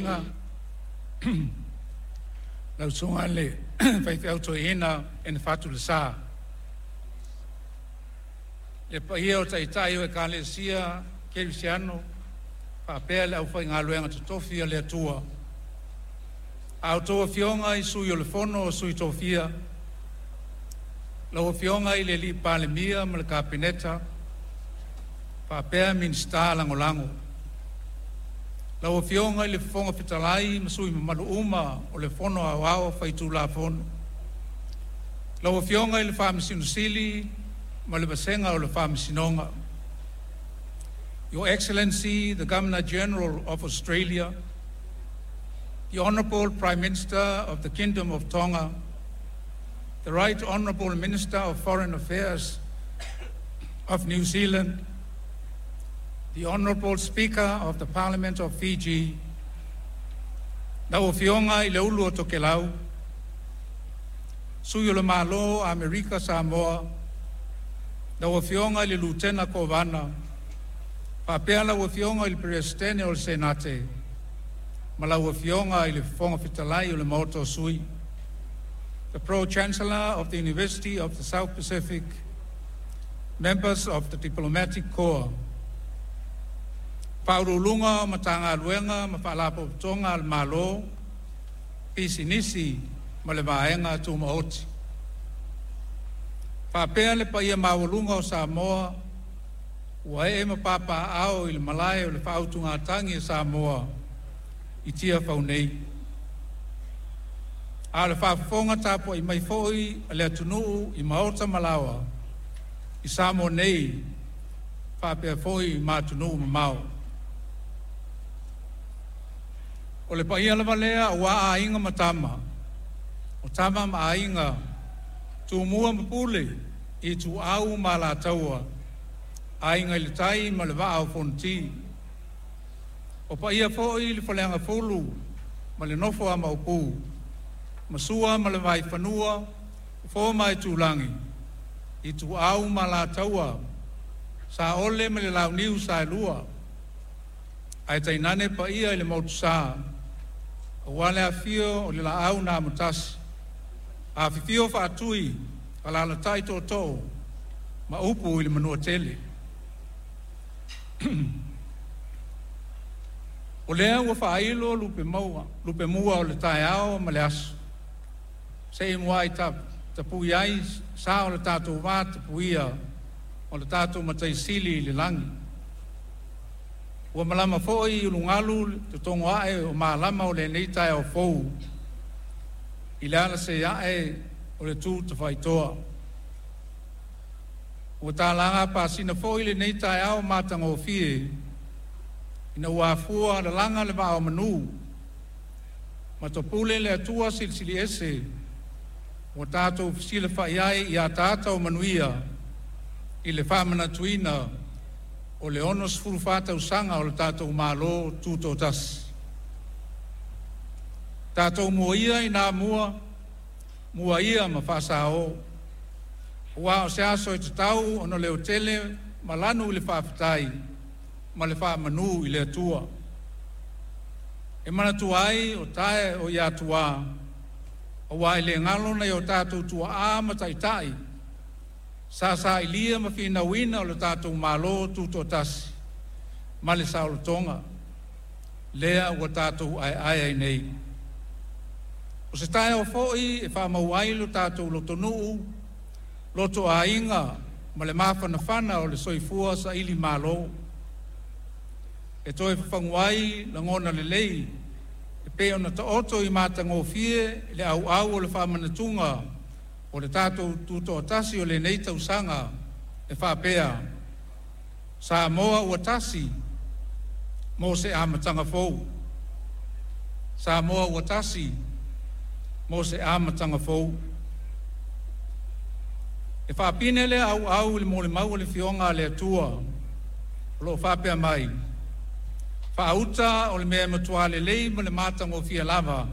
tapuaiga lau Susuga i le Faifeau Toeaina Enifato Lesa. Le paia o Taitai o Ekalesia Kerisiano faapea le aufaigaluega totofi a le Atua. A outou Afioga i Sui o le Fono a Sui Tofia, lau Afioga i le Palemia ma le Kapeneta faapea Minisita Lagolago. Lau Afioga i le Fofoga Fetalai ma sui usufono mamalu uma o le Fono Aoao Faitulafono. Lau Afioga i le Faamasino Sili ma le Vasega o le Faamasinoga. Your Excellency the Governor-General of Australia, the Honorable Prime Minister of the Kingdom of Tonga, the Right Honorable Minister of Foreign Affairs of New Zealand, the Honorable Speaker of the Parliament of Fiji, lau Afioga i le Ulu o Tokelau, Sui o le Malo o Amerika Samoa, lau Afioga i le Lutena Kovana, faapea lau Afioga i le Peresetene o le Senate ma lau Afioga i le Fofoga Fetalai o le Maota o Sui. The Pro-Chancellor of the University of the South Pacific, members of the Diplomatic Corps, Faauluuluga o Matagaluega ma Faalapotopotoga a le Malo, Pisinisi ma le Vaega Tumaoti. Faapea le paia maualuga o Samoa ua ee ma papaaao i le Malae o le Faautugatagi a Samoa i Tiafau nei. A o le faafofoga tapuai mai foi a le atunuu i maota ma laoa i Samoa nei faapea foi ma atunuu mamao. O le paia lava lea aua Aiga ma Tama, o Tama ma Aiga, Tumua ma Pule, Ituau ma Alataua, Aiga i le Tai ma le Vaa o Fonoti. O paia foi i le Faleagafulu ma le nofo a Maopu, ma Sua ma le Vaifanua, Fofo ma Aitulagi, Ituau ma Alataua, Saole ma le Launiu Saelua, ae tainane paia i le Motusa aua le afifio o le Laau na Amotasi, afifio Faatui, alaalatai Tootoo ma upu i le Manuatele. O lea ua faailo lupemua o le taeao ma le aso, se i muai tapui ai sa o le tatou vatapuia ma lo tatou Matai Sili i le lagi. Ua malama foi i ulugalu le totogo ae o malama o lenei taeao fou i le alase ae o le tu tafaitoa. Ua talaga apasina foi lenei taeao matagofie ina ua afua lalaga le vaa o manu ma topule le Atua Silisili Ese ua tatou fesilafai ai i ataata o manuia i le faamanatuina o le 64 tausaga o le tatou Malo Tutoatasi. Tatou mua ia ina mua, mua ia ma faasao, aua o se aso e tatau ona leotele ma lanu le faafetai ma le faamanu i le Atua. E manatua ai o tae o Atuā, aua e le galo nai o tatou tuaa ma taitai sa sailia ma finauina lo tatou Malo Tutoatasi ma le saolotoga lea ua tatou aeae ai nei. O se taeao foi e faamau ai lo tatou lotonuu, lotoaiga ma le mafanafana o le soifua sailimalo. E toe fafagu ai lagona lelei e pei ona taoto i matagofie le auau o le faamanatuga o le tatou Tutoatasi o lenei tausaga e faapea, Samoa ua tasi mo se amataga fou. Samoa ua tasi mo se amataga fou. E faapine lea auau i le molimau a le Afioga a le Atua o lo o faapea mai, “Faauta o le mea e matua lelei ma le matagofie lava